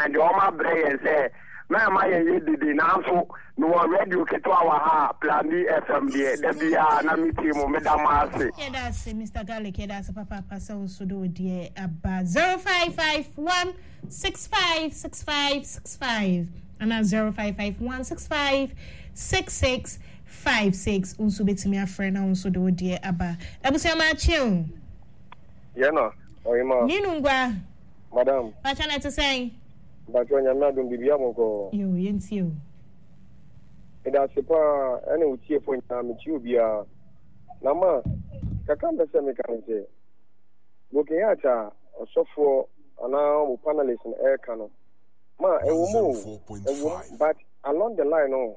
aban deɛ wɔn abrɛ yɛn sɛ mɛma yɛn yɛ dede nanso mewɔ radio ketewa wɔ ha a Plan B FM deɛ da biara na metie mo meda mo ase. Yɛda ase Mister Garlic yɛda ase papaapa sɛ wo nso de wo deɛ aba 0551 6565 65 anaa 0551 65 66 56 wo nso bɛtumi afrɛ na wo nso de wo deɛ aba. Abusua maakye o. Yɛna ɔhema. Ninu ngwa. Madam. Pakyɛ na ɛte sɛn? Mpakyɛ Nyame adom biribiara bɔkɔɔ. Yoo yɛntie o. Meda ase paa ɛne wo tiefoɔ nyinaa mekyia obiara. Na ma kakra mpɛ sɛ meka ne sɛ broken heart a ɔsɔfoɔ anaa mo panelist no ɛreka no ma ɛwɔ mu o ɛwɔ mu but along the line no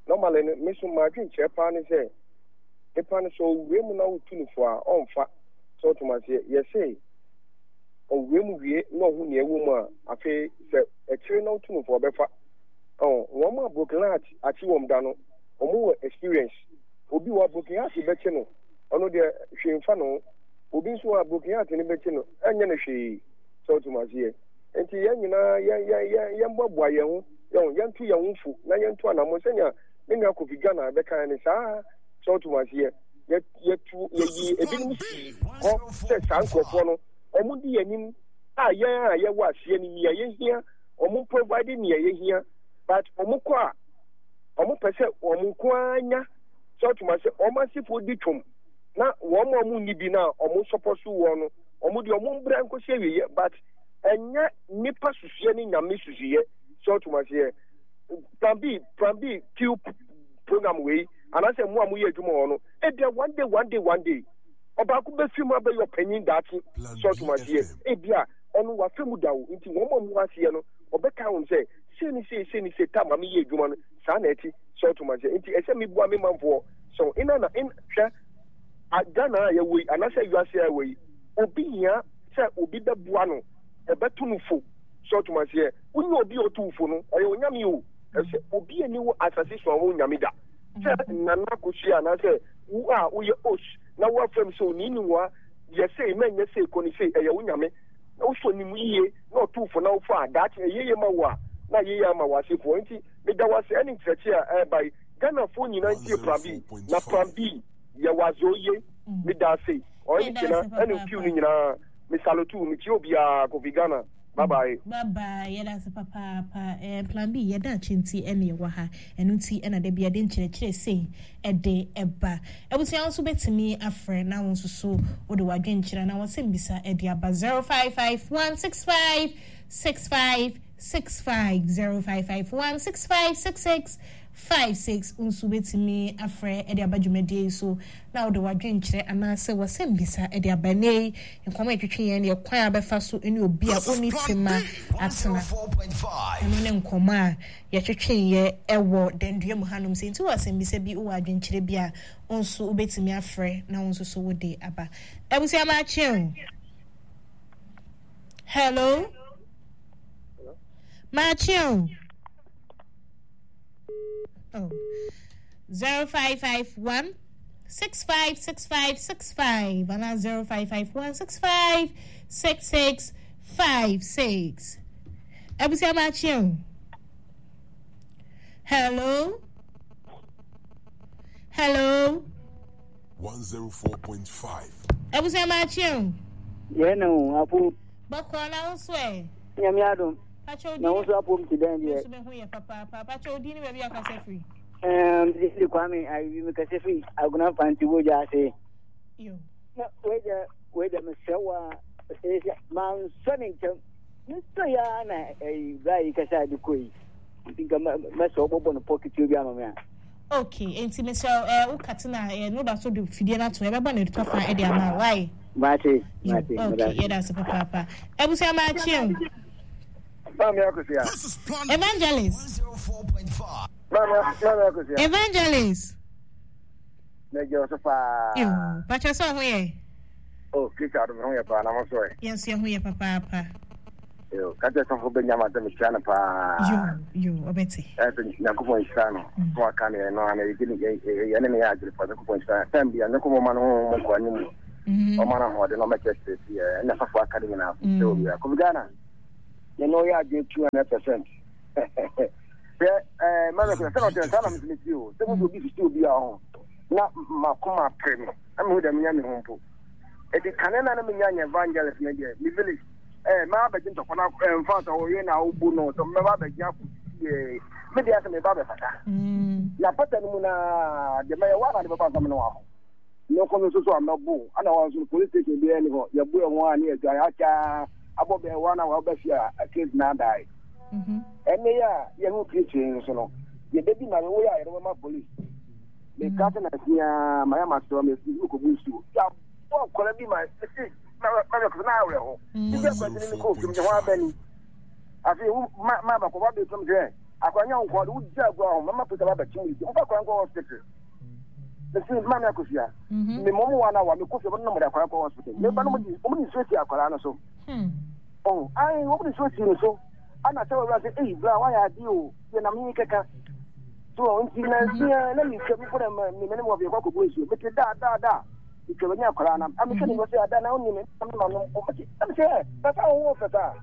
normally no me so madwen kyerɛ paa ne sɛ nipa no sɛ ɔwura mu na wotu no fo a ɔmfa sɛ ɔtom aseɛ yɛse ɔwura mu wie na ɔhu nea ɛwɔ mu a, afei sɛ akyire na wotu no fo a, ɔbɛfa. Ɔho, wɔn a broken heart akye wɔn da no, wɔn wɔ experience. Obi wɔ a broken heart bɛkye no, ɔno deɛ hwee mfa ne ho. Obi nso wɔ a broken heart no bɛkye no, ɛnyɛ no hwee. Sɛ wote mu aseɛ. Nti yɛn nyinaa yɛn yɛn yɛn yɛmboaboa yɛn ho, yɛn yɛnto yɛn ho fo na yɛnto anammɔn sɛnea me nua Kofi Ghana bɛkaeɛ no saa. Sɛ wote mu aseɛ. Yɛ yɛtu yɛyi ebinom sii hɔ sɛ saa nkurɔfoɔ no wɔn di yɛn anim a yɛn a yɛwɔ aseɛ no nea yɛhia wɔn provide nea yɛhia but wɔn kɔ a wɔn pɛ sɛ wɔn nko ara nya sɛ ɔtuma sɛ wɔn asefoɔ di twom na wɔn a wɔn nni bi na wɔn sɔpɔ so wɔn no wɔn deɛ wɔn mbra nkosi awieɛ but ɛnyɛ nipa susuɛ ne nyame susuɛ sɛ ɔtuma seɛ plan B plan B Q program wei anaasɛ mo a moyɛ adwuma wɔ no ebia one day one day one day ɔbaako bɛfi mu abɛyɛ ɔpanyin daakye sɛ ɔtom aseɛ ebia ɔno wafa mu da o nti wɔn a wɔwɔ aseɛ no ɔbɛka wɔn sɛ sei ne sei sei ne sei ta ma meyɛ adwuma no saa na ɛte sɛ ɔtom aseɛ nti ɛsɛ meboa me manfoɔ so ina na in hwɛ Ghana a yɛwɔ yi anaasɛ wiase a yɛwɔ yi obi hia sɛ obi bɛboa no ɔbɛto no fo sɛ ɔtom aseɛ wonyɛ obi a ɔto fo no ɔyɛ onyame o ɛsɛ obi ani wɔ asase so a wɔn nyame da sɛ nana akosua anaasɛ wo a woyɛ os na woafam sɛ onii ne wa yɛ sei ma nyɛ sei kɔ ne sei ɛyɛ wo nyame na wosɔ ne mu yie na ɔto fo na wofa a daakye ɛyɛ yie ma wo a na yɛ yie ama w'asefoɔ nti meda wo ase ɛne nkyerɛkyerɛ a ɛreba yi Ghanafoɔ nyinaa ntie plan B na plan B yɛ wadze oye meda ase ɔyɛ ne kyena ɛne mpiw no nyinaa me salute mekyia obiara Kofi Ghana Bye bye. Bye bye yɛda ase papaapa eh, plan B yɛda akyi nti ɛna yɛwɔ ha ɛno nti ɛna da bi yɛde nkyerɛkyerɛ sei ɛde ɛba abusua wo nso bɛtumi afrɛ na wo nso so wode w'adwenkyerɛ na wɔsɛm bisa ɛde aba 0551 65 65 65 0551 65 66 56 wo nso wobɛtumi afrɛ de aba dwumadie yi so na wode w'adwenkyerɛ anaasɛ w'asɛmmisa de aba. Ɛnnɛ yi, nkɔmmɔ a yɛtwetwe yɛn deɛ kwan a wobɛfa so ne obi a ɔnni tema atena. Ɛno ne nkɔmmɔ a yɛtwetweeɛ wɔ dandua mu hanom. Sɛ nti wɔ asɛmmisa bi, wowɔ adwenkyerɛ bi a, wo nso wobɛtumi afrɛ na wo nso so wode aba. Abusua maakye o. Hello. Maakye o. Oh. 0551 656565 anaa 0551 656656. Abusua maakye o. Hello. Hello. 104.5. Abusua maakye o. Yɛn na o apo. Bɔkɔɔ na wo so ɛ. Nyame adom. Na wo nso apom te dɛn deɛ? Nso meho yɛ papaapa. Pakyɛ wo din ne baabi a kasa firi? Ɛɛm, de Kwame Ayebi me kasa firi Agona Mfanti Bogya ase. Yo. Na wei deɛ wei deɛ mesrɛ wo a sɛ mansɔ ne nkyɛm mesɔ yɛ a na ɛyi bra yi kasa de kɔ yi nti nka mɛsɛ wobɔbɔ no pɔ ketewa bi ama me a. Okay, nti mesrɛ wo eh, wo kate na eh, no da so de fidie no ato yɛbɛbɔ ne tɔfa de ama wo why? Mate, mate. Okay, yɛda ase papaapa. Abusua maakye o. Maame Akosua. Evangelist. Maame Maame Akosua. Evangelist. Mɛgye wo so paa. Yo, pakyɛ sɛ ɔho yɛ. Oh, Kristo adom ho yɛ paa na mo so ɛ. Yɛn nso yɛn ho yɛ papaapa. Yo, ka kyerɛ sɔfo bɛnya ma sɛ mekyia no paa. Yo, yo, ɔbɛte. Ɛsɛ Nyankopɔn nhyira no. So aka ne ɛno ana yɛgye ne yɛne ne yɛ adwene pa Nyankopɔn nhyira no. Time bia Nyankopɔn ma no ho mu nkɔ anim. Ɔma no ahoɔden na ɔmɛkyerɛkyerɛ si ɛna sɔfo aka ne nyinaa so. Sɛ obiara. Kofi Ghana. Me ne wo yɛ adwene 200%. Hwɛ ɛɛ mɛmɛ sɛ sɛ ɔtɛ saa na mesɛ mesi o. Sɛ mo obi sisi obi a ɔho na makoma pere me. Na mehu dɛ menya me ho mpo. Eti kane na na menya nyɛ evangelist ne deɛ me village ɛɛ mɛba abɛgye ntɔkwa na ɛmfa sɛ ɔyɛ na ɔbu no sɛ mɛba abɛgye akɔ sisi ɛɛ me deɛ sɛ meba abɛfata. Na pata no mu na deɛ mɛyɛ wa na de bɛba nsɛm no wɔ hɔ. Me nko no nso so a mɛbo ana wɔn nso police station biara ni hɔ yɛbo ɛho a ne yɛdwane akyɛ abɔ bɛn wɔn a wɔaba fie a case na adae ɛnne yɛ a yɛho kristo yi nso no yɛbɛdi ma wo yɛ a yɛde bɛma police meka sɛ na sia ma yɛ masrɛ me mekɔbu nsuo yɛabɔ nkɔla bi ma mese mɛbɛkɔsɛ na awerɛ ho nti akwanti ne mekɔɔ fam sɛ ho abɛni afei wo ma ma bakɔba bɛfam sɛ akwanya wo nkɔɔ de wogya agu aho mɛma polisi aba bɛkye mu mfa kwan kɔ hospital mesi maame akosua me mɔmu wa na wa me kofie wɔn nam de akwadaa kɔ hospital me ba no mo di wɔn de nsuo si akwadaa no so ɔn ayi wɔn de nsuo si no so ana sɛ wɔwura sɛ eyi bla wayɛ adi o yɛ nam yi kɛkɛ so nti na nsia na mi twɛ mi kɔ na mi mi ne mo wɔ fi kɔ akɔbu nsuo mi ti da da da mi twɛ wɔnyɛ akwadaa nam ami sɛ ne mo sɛ ada na ɔni mi na mi ma no mo ti ɛmi sɛ pɛsɛ ɔwɔ wɔ fɛ saa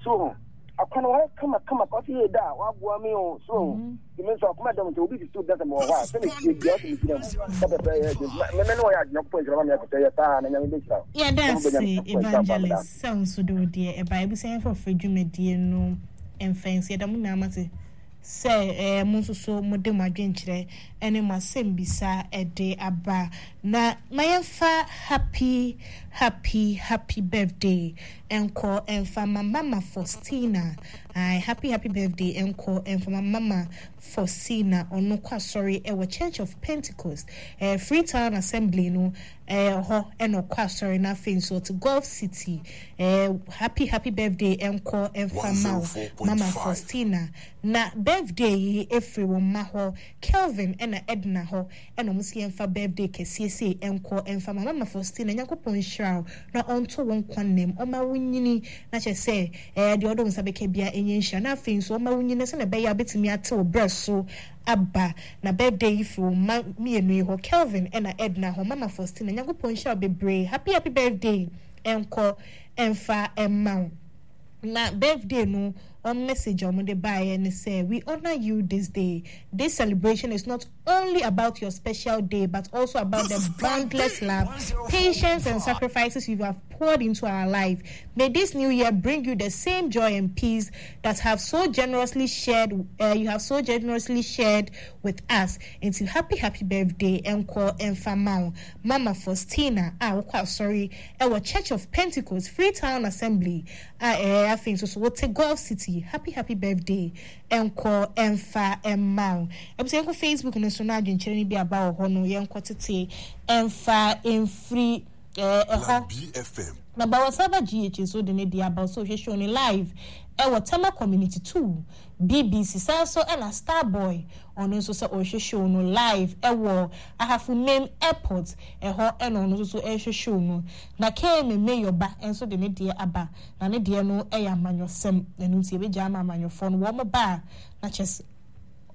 so akwana wɔyɛ kama kama kɔsi yɛ da waboa mi o so. Me nso akoma dɔm nti obi susu da sɛ mewɔ hɔ a sɛ metie bia ɔsɛ megyina mu sɛ pɛpɛ yɛ de me ne wɔyɛ adwene kɔpɔ nhyira ma me akɔsɛ yɛ saa na nyame bɛhyira wo. Yɛda ase Evangelist sɛ wo nso de wo deɛ ɛbaeɛ. Abusua yɛmfa ɔfrɛ dwumadie no mfa nsi. Yɛda mo nyinaa mo ase sɛ mo nso so mode mo adwenkyerɛ ne mo asɛmbisa de aba. Na ma yɛmfa happy happy happy birthday nkɔ mfa ma Mama Faustina. Ae happy happy birthday nkɔ mfama mama Faustina ɔno kɔ asɔre wɔ Church of Pentecost eh, Freetown Assembly no eh, hɔ ɛna ɔkɔ asɔre na afei nso ɔte Gulf City eh, happy happy birthday nkɔ mfama wo mama Faustina na birthday yi efiri wɔn mma hɔ Kelvin ɛna Edna hɔ ɛna ɔmo si yɛnfa birthday kɛseɛ sei nkɔ mfa ma mama Faustina Nyankopɔn nhyira wo na ɔnto wo nkwa nnam ɔma wo nyini na kyerɛ sɛ ɛɛ deɛ ɔde wo nsa bɛka biara ɛnyɛ nhyira na afei nso ɔma wo nyini sɛdeɛ ɛbɛyɛ a wobɛtumi ate wo brɛ so aba na birthday yi firi wo mma mmienu yi hɔ Kelvin ɛna Edna hɔ mama Faustina Nyankopɔn nhyira wo bebree happy happy birthday nkɔ mfa mma wo. Na birthday no wɔn message a wɔde baeɛ ne sɛ we honour you this day this celebration is not only about your special day but also about the boundless love patience and sacrifices you have poured into our life may this new year bring you the same joy and peace that have so generously shared uh, you have so generously shared with us nti happy happy birthday ɛnkɔ ɛnfa ma wo mama Faustina a wokɔ asɔre ɛwɔ Church of Pentecost Freetown Assembly a ɛɛ afei nso so wote Gulf City happy happy birthday ɛnkɔ ɛnfa ɛmma wo ɛbisɛ yɛnkɔ Facebook no so na adwenkyerɛ no bi aba wɔ hɔ no yɛnkɔ tete ɛnfa ɛmfiri ɛɛ ɛhɔ na Bawasaba GH nso de ne deɛ aba so hwɛ show no live ɛwɔ Tema Community 2 BBC saa nso ɛna Starboy ɔno nso sɛ ɔrehwɛ show no live ɛwɔ Ahafo Mem Airport ɛhɔ ɛna ɔno nso so ɛrehwɛ show no na KMA Mayor ba nso de ne deɛ aba na ne deɛ no ɛyɛ amanyɔsɛm ɛno nti yɛbɛgya ama amanyɔfoɔ no wɔn ba a na kyɛ sɛ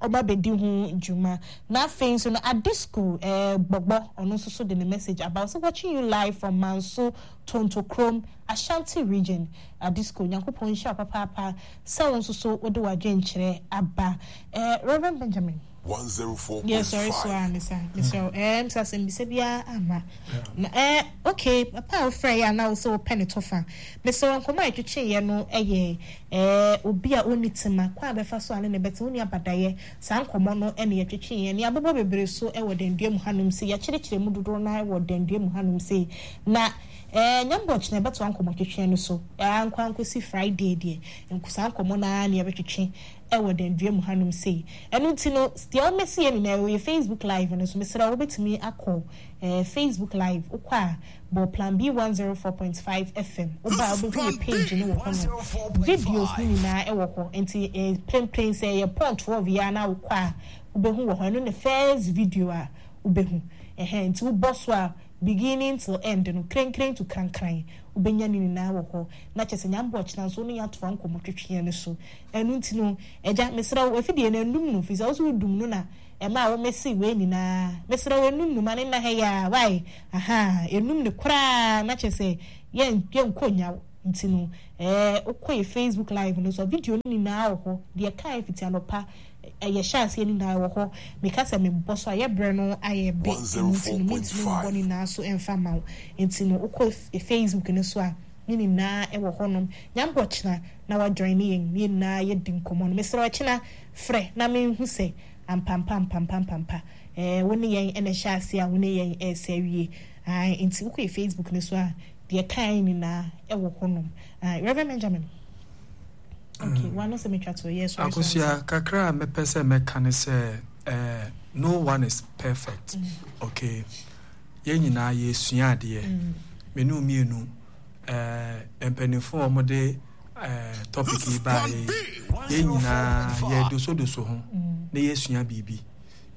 ɔba bɛdi ho dwuma na afei nso no Adisco ɛɛ Gbɔgbɔ ɔno nso so de ne message aba ɔsɛ watching you live from Manso Tontokrom Ashanti region Adisco Nyankopɔn nhyira wo papaapa sɛ wo nso so wode w'adwenkyerɛ aba eh, Reverend Benjamin. 104.5. Yɛ sɔre so a mesa mesrɛ wo eh mesa asɛmbisa biara amma na eh okay papa a wofrɛ yɛ a na wo sɛ wopɛ ne tɔfa mesrɛ wo nkɔmmɔ a yɛtwetweeɛ no yɛ eh obi a ɔnni tema kwan a bɛfa so a ne ne bɛte wonni abadayɛ saa nkɔmmɔ no ne yɛtwetweeɛ ne yɛabobɔ bebree so wɔ dandua mu hanom sei yɛakyerɛkyerɛ mu dodoɔ no ara wɔ dandua mu hanom sei na Eh, Nyame ɔkyena yɛbɛtoa nkɔmmɔtwetwe no so eh, ankɔ ankɔsi Friday deɛ, nko saa nkɔmmɔ no ara na yɛbɛtwetwe wɔ Dandua mu hanom sei. Ɛno nti no, deɛ womɛsi yɛ nyinaa ɛwɔ yɛ Facebook Live no so, mesrɛ wo wobɛtumi akɔ eh, Facebook Live, wokɔ a bɔ Plan B 104.5 FM, woba a wobɛhu yɛ page no wɔ hɔ nom, videos no nyinaa ɛwɔ hɔ, nti eh, prempren sɛ ɛyɛ pɔn 12 yi ara na wokɔ a wobɛhu wɔ hɔ, ɛno ne first video a wobɛhu, ɛhɛn, nti wobɔ so a Beginning till end no, krenkren to krankran, wobɛnya ne nyinaa wɔ hɔ. Na kyerɛ sɛ Nyame bɔ ɔkyena nso wo ne yɛn atoa nkɔmmɔ twetweɛ no so. Ɛno nti no, Agya, mesrɛ wo, afidie no, nnum no, firi sɛ wo nso wodum no na ɛmaa wo mese wei nyinaa. Mesrɛ wo, nnum no, ma no nna ha yi ara, wai? Ahaa, nnum no koraa, na kyerɛ sɛ yɛn, yɛnkɔ nnya wo. Nti no, ɛɛ wokɔ yɛ Facebook live no so a, video no nyinaa wɔ hɔ. Deɛ ɛkaeɛ fiti anɔpa, yɛhyɛ aseɛ no nyinaa ɛwɔ hɔ. Meka sɛ mebɔ so a, yɛ berɛ no ayɛ be, ɛno nti no mentumi mbɔ ne nyinaa so mfa mma wo. Nti no, wokɔ Facebook no so a, ne nyinaa ɛwɔ hɔnom. Nyame bɔ ɔkyena na wa joine yɛn, na yɛn nyinaa yɛdi nkɔmmɔ no. Mesrɛ wo ɛkyena frɛ na menhu sɛ ampampa ampampa ampampa ɛɛ wo ne yɛn na ɛhyɛ aseɛ a wo ne yɛn ɛresɛ awie. Ae, nti wokɔ yɛ Facebook no so a, deɛ ɛkaeɛ nyinaa ɛwɔ hɔnom. Ae, Reverend Benjamin. Okay, mm. wano sɛ metwa to yɛ sɔre. Akosua, kakra a mepɛ sɛ mɛka ne sɛ, eh, no one is perfect. Mm. Okay. Yɛn nyinaa yɛsua adeɛ. Mm. Me ne mmienu, eh, mpanimfoɔ a wɔde eh, topic yi baeɛ yi, yɛn nyinaa yɛdosodoso ho mm. na yɛsua biribi.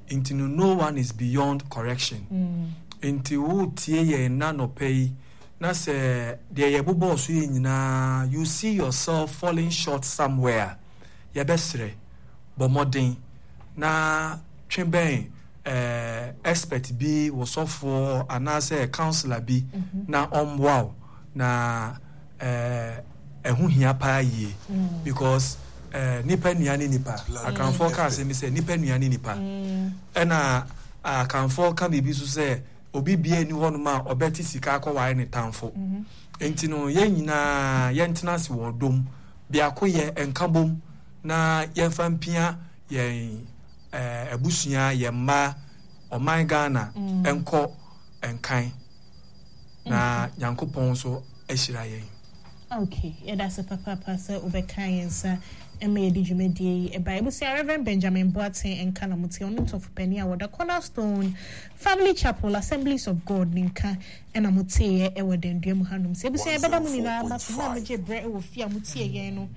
Nti no, no one is beyond correction. Mm. Nti wotie yɛn nna nɔpɛ yi, na sɛ deɛ yɛbobɔɔ so yɛ nyinaa, you see yourself falling short somewhere, yɛbɛsrɛ, bɔ mmɔden na twe bɛn eh, expert bi, wo sɔfoɔ anaasɛ counselor bi mm -hmm. na ɔmmoa wo na eh, ɛho hia paa yie mm. because eh, nipa nua ne nipa. Akanfoɔ ka asɛm bi sɛ nipa nua ne nipa. Ɛna akanfoɔ ka biribi so sɛ obi bia ni hɔnom a ɔbɛte sika akɔware ne tamfo. Nti no yɛn nyinaa yɛntena ase wɔ ɔdɔ mu, biako yɛ nkabom na yɛmfa mpia yɛn eh, abusua, yɛn mma, ɔman Ghana nkɔ nkan na Nyankopɔn nso ahyira yɛn. Ok, yɛda ase papaapa sɛ wobɛkaa yɛn nsa ma yɛde dwumadie yi baeɛ. Abusua, Rev. Benjamin Boateng nka na mote, ɔno ntɔfo panin a wɔda Cornerstone Family Chapel, Assemblies of God ne nka na moteeɛ wɔ Dandua mu hanom. Sɛ abusua yɛbɛda mo nyinaa mo ase, mo a mogye berɛ wɔ fie a motie yɛn no,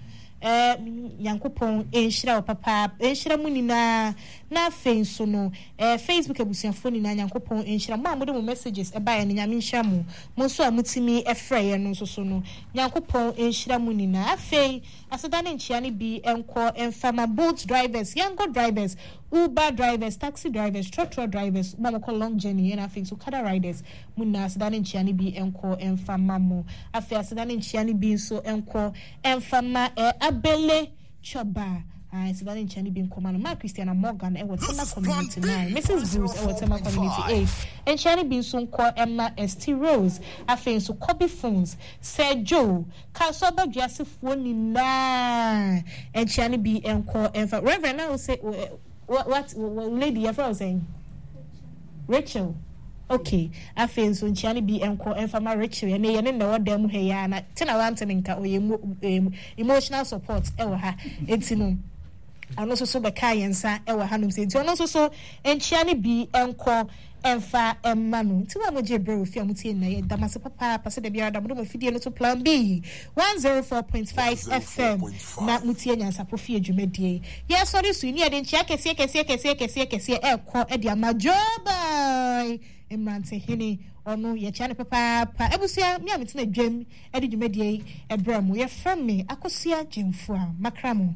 eh, Nyankopɔn nhyira wo papaapa, nhyira mo nyinaa. Na afei nso no, eh, Facebook abusuafoɔ nyinaa, Nyankopɔn nhyira mo. Mo a mode mo messages baeɛ no, Nyame nhyira mo. Mo nso a motumi frɛeɛ no nso so no, Nyankopɔn nhyira mo nyinaa. Afei, aseda ne nkyea no bi nkɔ mfa ma Bolt drivers, Yango drivers, Uber drivers, taxi drivers, trɔtrɔ drivers, mo a mokɔ long journey, ɛna afei nso Okada riders, mo nyinaa aseda ne nkyea no bi nkɔ mfa ma mo. Afei aseda ne nkyea no bi nso nkɔ mfa ma eh, Abele Choba, ah, aseda ne nkyea no bi nkɔ ma no, Ma Christiana Morgan wɔ Tema Community 9, Mrs. Bruce wɔ Tema Community 8, nkyea no bi nso nkɔ mma Esty Rose, afei nso Kobe Phones, Sir Joe, Kasoa Badwiasefoɔ nyinaa, nkyea no bi nkɔ mfa, Reverend na wo se, what, lady yɛfrɛ wo sɛn? Rachel, Ok, afei nso nkyia no bi nkɔ mfa ma Rachel, ɛnɛ yɛne no na ɛwɔ dan mu ha yi ara na te na wante ne nka, ɔyɛ emo em emotional support wɔ ha, nti no ɔno nso so bɛkaa yɛn nsa wɔ hanom sɛ nti ɔno nso so nkyia no bi nkɔ mfa mma no. Nti wo a mogye berɛ wɔ fie a motie nyinaa yɛda mo ase papaapa sɛ da biara da mode mo afidie no to Plan B 104.5 FM na motie Nyansapo Fie dwumadie yi. Yɛresɔre so yi, ne yɛde nkyea kɛseɛ kɛseɛ kɛseɛ kɛseɛ kɛseɛ ɛrekɔ de ama Joeboy Mmerantehene. Ɔno, yɛkyea no papaapa. Abusua, me a metena dwam de dwumadie yi brɛ mo, yɛfrɛ me Akosua Gyamfua. Makra mo.